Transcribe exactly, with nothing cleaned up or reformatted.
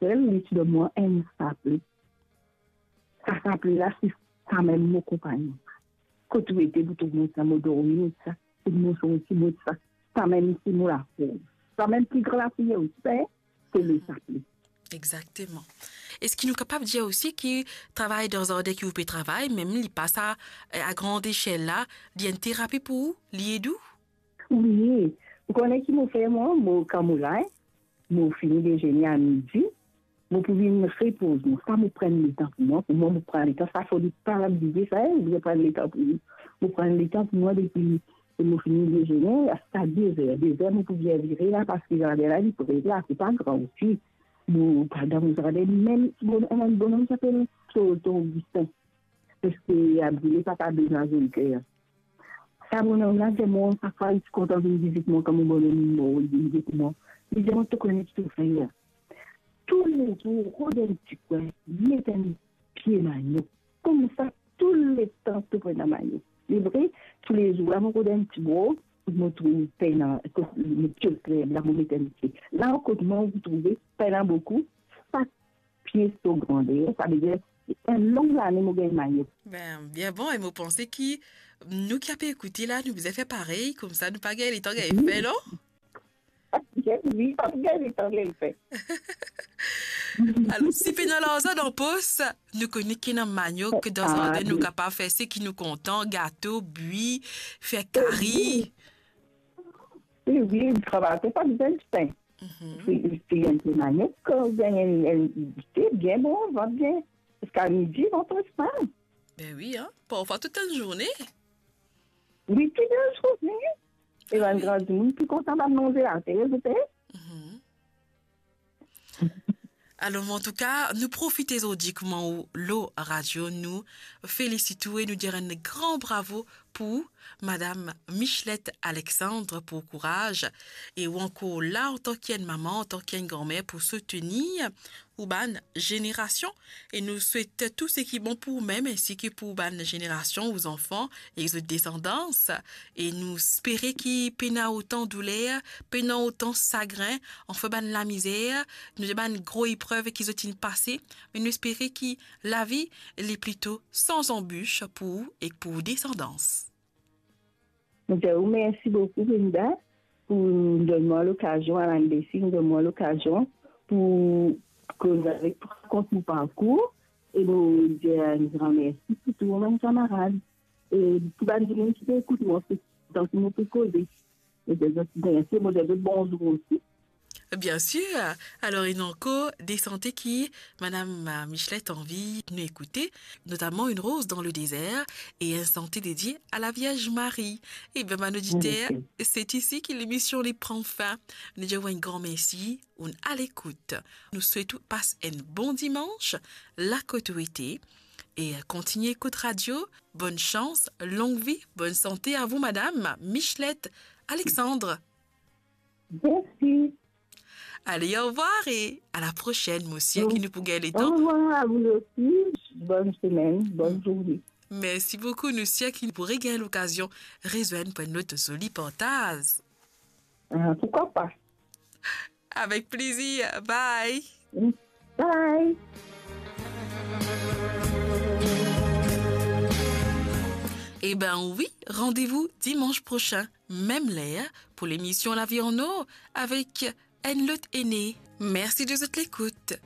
sel, li ti donn mwa enn saple. Sa saple la, se sa mem mo konpagn. Kot ou ete, pou trouv mwa sa, mo dormi, mo sa. Kot mo sorti, mo sa. Sa mem, se mo laforz. Sa mem pli gran lapriyer ou fer, se le saple. Exactement. Eski nou kapav dir osi ki travay dan zardin ki ou pe travay, mem li pa sa, eh, a grand echel la, li enn terapi pou ou, li ed ou? Wi, ou kone ki mo fer mwa, mo kan mo la, eh, mo fini dezene a midi, mo pou vinn repoz mwa. Sa mo pran letan pou mwa, pou mwa mo pran letan, sa fode pa bliye sa, eh, ou bizin pran letan pou ou. Mo pran letan pou mwa depi mo fini dezene, ziska de zer. De zer mo pou vinn vire la, paski zardin la, li pre la, se pa gran osi. Mo, pandan mo zardin, mem, bon, enn bonom ki apel Tonton Augustin. Paski a brile pa kapav bizin zoli ker. Sa bonom la, se mwa, sak fwa li ti kontan vinn vizit mwa, kan mo bonom mor, li vinn vizit mwa. Li dir mwa, to kone ki to fer la? Toulezour, rod enn ti kwin, met enn pie maniok. Koumsa, touletan to pran manyo. Li vre, toulezour la, mo rod enn ti bor, mo trouv pena, kot mo ti kreb la, mo met enn pie. La, kot mwa, ou trouve, pena boukou, sak pie so grander, savedir, enn long lane mo gagn manyo. Ben, bien bon, e mo panse ki nou ki ape ekoute la, nou bizin fer parey, koumsa nou pa gagn letan gagn fen, non? Wi, pa pou gagn letan gagn fen. Alor, si pena larzan dan pos, nou kone ki ena maniok dan zardin, nou kapav fer seki nou kontan, gato, bwi, fer kari. Wi, wi, travay, pa bizin difin. Mhm. Si, si enn ti maniok, ou gagn enn, enn, se bien bon, va bien. Ziska midi, va pran sa. Ben wi, hein. Parfwa tout enn zourne. Wi, tout enn zourne. E bann gran dimoun, pli kontan bann manze la, se rezilta. Mhm. Alor, antouka, nou profite zordi kouma ou lor radio, nou felisit ou e nou dir enn gran bravo pou Madam Michelet Alexandre pou kouraz, e ou ankor la antan ki enn mama, antan ki enn granmer pou soutenir ou bann zenerasion, e nou swet tou seki bon pou ou mem, ensi ki pou bann zenerasion, ou zanfan, e zot desandans, e nou espere ki pena otan douler, pena otan sagrin, anfin bann lamizer, nou dir bann gro eprev ki zot inn pase, me nou espere ki lavi li plito san zanbis pou ou ek pou ou desandans. Mo dir ou mersi boukou, Linda, pou donn mwa lokazion, Alan Desi, donn mwa lokazion pou koz avek, pou rakont mo parkour, e mo dir enn gran mersi pou tou bann kamarad, e pou bann dimoun ki pe ekout mwa, donk mo pe koze. E dir zot mersi, mo dir zot bonzour osi. Bien sir. Alor, ena ankor de sante ki Madam, euh, Michelet anvi nou ekoute, notaman Une rose dans le désert e enn sante dedie a la Vierge Marie. E bien, bann oditer, se isi ki lemision li pran fin. Nou dir ou enn gran mersi, ou al ekout. Nou swet ou pas enn bon dimans, la kot ou ete, e kontigne ekout radio. Bonn sans, long vi, bonn sante a vou, Madam Michelet Alexandre. Mersi. Ale, orvwar e a la prosenn, mo sir ki nou pou gagn letan. Orvwar a vou osi. Bonn semenn, bonn zourne. Mersi boukou, nou sir ki nou pou regagn lokazion rezwenn pou enn lot zoli partaz. Ah, pourquoi pas? Avek plezir. Bye. Bye. E ben wi, randevou dimans prosin, mem ler, pou lemision Lavi an Or avek enn lot ene. Mersi de zot lekout.